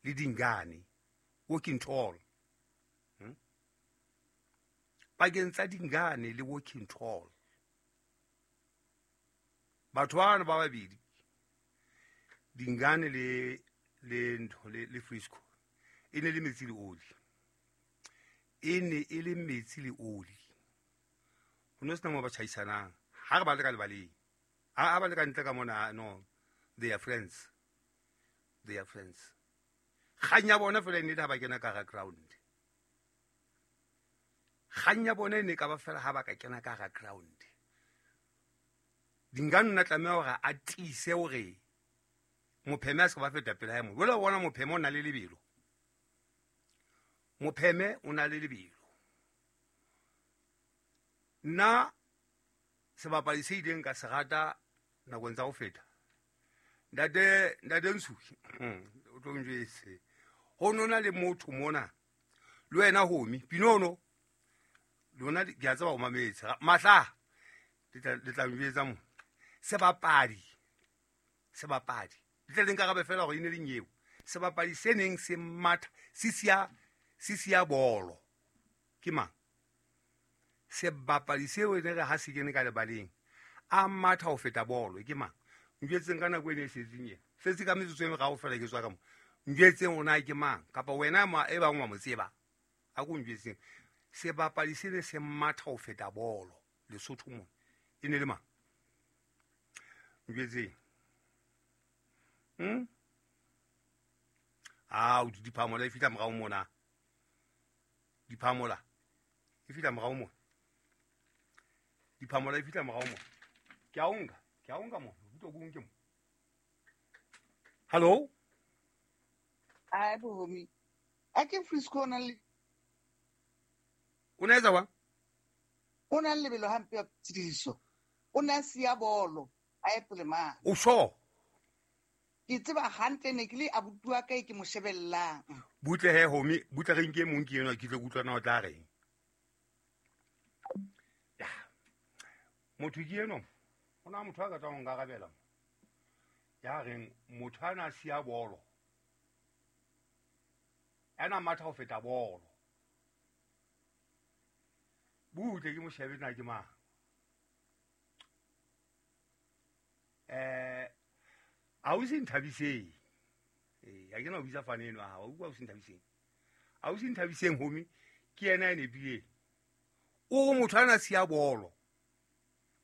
Le Dingane, walking tall. Pakeng tsa Dingane le walking tall, batho bana ba babedi, Dingane le ntho le Frisco, e ne le metsi le oli, e ne e le metsi le oli. Ho no sena mo ba tjhaisanang ha re ba le ka lebaleng, ha ba le ka ntle ka mona. No, they are friends, they are friends. Kgang ya bona fela e ne le ha ba kena ka hara ground. Kgang ya bona e ne ka ba fela ha ba ka kena ka hara ground. Dingane o na tlameha hore a tiise hore Mopheme a se ka ba feta pele hae mo. Jwale o bona Mopheme o na le lebelo, Mopheme o na le lebelo. Nna sebapadi se ileng ka se rata nakong tsa ho feta, ntate Nsuki, o tlo njwetse, ho nona le motho mona le wena homi Pinono, lona ke a tseba o mametse mahla, le tla njwetsa mo. Sebapadi le tle le nkarabe fela hore e ne le nyeo. Sebapadi se neng se matha se siya bolo ke mang? Sebapadi seo e ne re ha se kene ka lebaleng a matha ho feta bolo ke mang? Njwetseng ka nako e ne e setseng ena, setse ka metsotso e meraro fela ke tswa ka mo. Njwetseng o na ke mang, kapa wena ma e bang wa mo tseba, a ko njwetseng. Sebapadi se ne se matha ho feta bolo Lesotho mona e ne le mang? Njwetseng. Ah, o diphamola e fihla morao mona, diphamola e fihla morao mona, diphamola e fihla morao mona. Ke a o nka, ke a o nka mona, utlwa ke o nke mo. Hello? Ai, bohomi. A ke Frisco o na le O na etsa jwang? O na le lebelo hampe ya tshidiso. O na siya bolo, a ye pele mane. O sure? Ke tseba hantle, ne ke le abuti wa ka e ke mo shebellang. Butle he homi, butle re nke mong ke enwa, ke tle ke utlwa na o tla reng. Ya. Motho ke enwa, ho na motho a ka tswang ho nkarabela mo. Ya reng motho a na siya bolo, ya na matha ho feta bolo. Butle ke mo shebe na ke mang. Ausi Nthabiseng. Ha ke na ho bitsa fane eno ha, wa utlwa ausi Nthabiseng. Ausi Nthabiseng homi ke yena ya nepileng. O re motho a na siya bolo.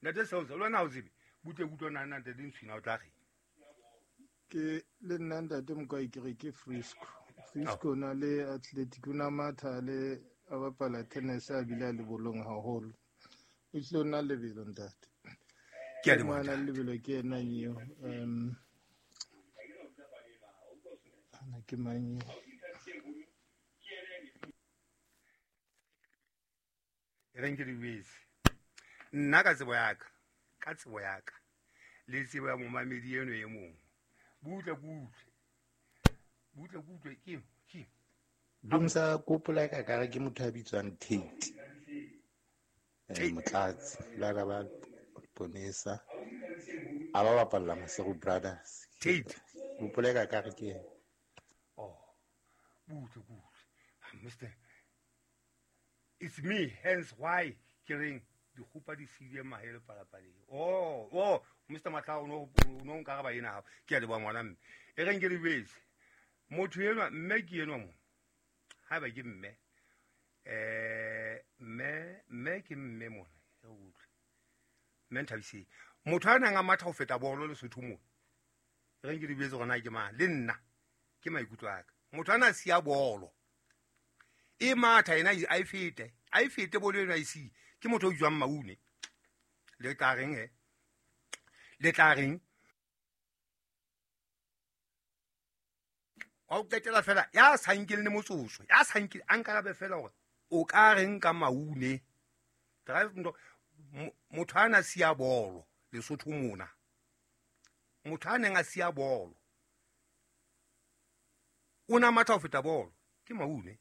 Ntate Seusa, le wena ha o tsebe, butle ke utlwa na ntate Ntshwina o tla reng. Ke le nna ntate Mokwai ke re ke Frisco. Frisco o na le athletic, o na matha le a bapala tennis a bile a le bolong haholo. O hlile o na lebelo ntate. Ke a leboha, Ke ngwana ntate. lebelo ke yena eo. Ana ke mang eo? E reng ke di jwetse. Nna ka tsebo ya ka, ka tsebo ya ka, le tsebo ya momamedi eno e mong. Butle ke utlwe. Butle ke utlwe, ke, ke. Dumsa kopola ka kare ke motho a bitswang Tate. Tate. Motlatsi, la ka ba Ponesa. A ba bapalla Maseru Brothers. Tate. Kopola ka kare ke yena. Oh, butle ke utlwe. Mister, it's me, hence why ke reng dikgopa di siile mahe le palapaleng. Oh, oh, Mister Matla, o no nkaraba ena hao. Ke a leboha ngwana mme. E reng ke le jwetse. Motho enwa, mme ke enwa mo. Haeba ke mme. Mme, mme ke mme mona. E utlwe. Mme Nthabiseng. Motho a nang a matha ho feta bolo Lesotho mona. E reng ke le jwetse hore na ke mang. Le nna, ke maikutlo a ka. Motho a na siya bolo. E matha ena a e fete. A e fete bolo ena e siye. Ke motho o bitswang Maune. Le tla reng he? Le tla reng? Wa o qetela fela, ya sa nkeng le motsotso, ya sa nkeng, a nkarabe fela hore o ka reng ka Maune. Drive ntho, motho a na siya bolo Lesotho mona. Motho a neng a siya bolo, o na matha ho feta bolo, ke Maune.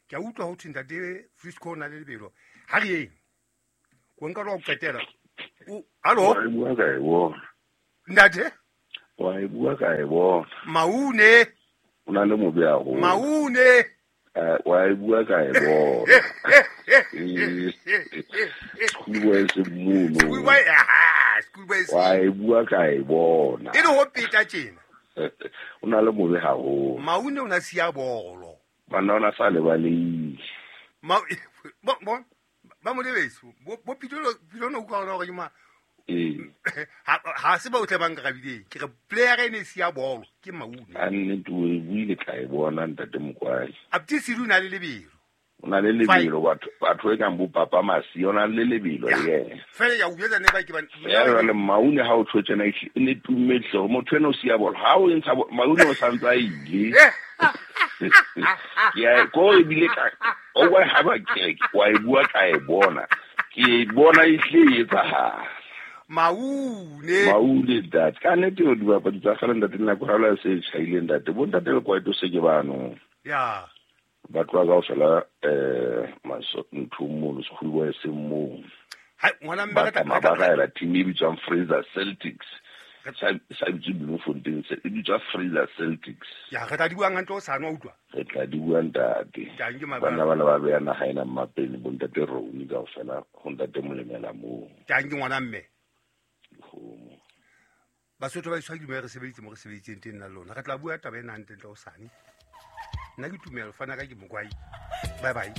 Ke a utlwa ho thwe ntate Frisco o na le lebelo. Ha re yeng. Ko nka lo qetela. O, hallo? Wa e bua ka e bona. Ntate? Wa e bua ka e bona. Maune. O na le mobe haholo. Maune. Wa e bua ka e bona. Schoolboy se mono. Schoolboy, aha, schoolboy se. Wa e bua ka e bona. E le ho peta tjena. O na le mobe haholo. Maune o na siya bolo. Banna o na sa lebaleile. Ma bo bo ba mo lebeso. Bo Pitolo Pitolo no utlwa hore ke ma. Ha se ba otle ba nkarabile. Ke re player e ne siya bolo ke Maune. A nnete o e buile ka e bona ntate Mokwai. Apti Sidu na le lebelo. O na le lebelo batho e kang bo Papa Masi o na le lebelo le yena. Fela ya o jwetsa ne ba ke ba. Ya le Maune ha o tjho tjena e ne tumme hle motho ena o siya bolo. Ha o ntsha Maune o santsa ile. Ya ko e bile ka o wa ha ba ke wa e bua ka e bona. Ke bona e hle e etsahala. Maune. Maune ntate. Ka nnete o dibapadi tsa kgale ntate nako ha la se tjhaile ntate. Bo ntate le kwaito se ke bano. Ya. Ba tloha kaofela maso ntho mono schoolboy se mo. Ha ngwana mme ka ba raela team e bitswang Fraser Celtics. Sa bitswe Bloemfontein se e bitswa Fraser Celtics. Ya re tla di buang hantle o sa nwa utlwa. Re tla di bua ntate. Bana bana ba beya naha ena mmapeng bo ntate Roni kaofela ho ntate Molemela moo. Tang ke ngwana mme. Basotho ba iswa ke re sebeditse mo re sebeditseng teng nna lona. Re tla bua taba ena hantle ntle o sane. Nna ke tumelo fana ka ke Mokwai. Bye bye.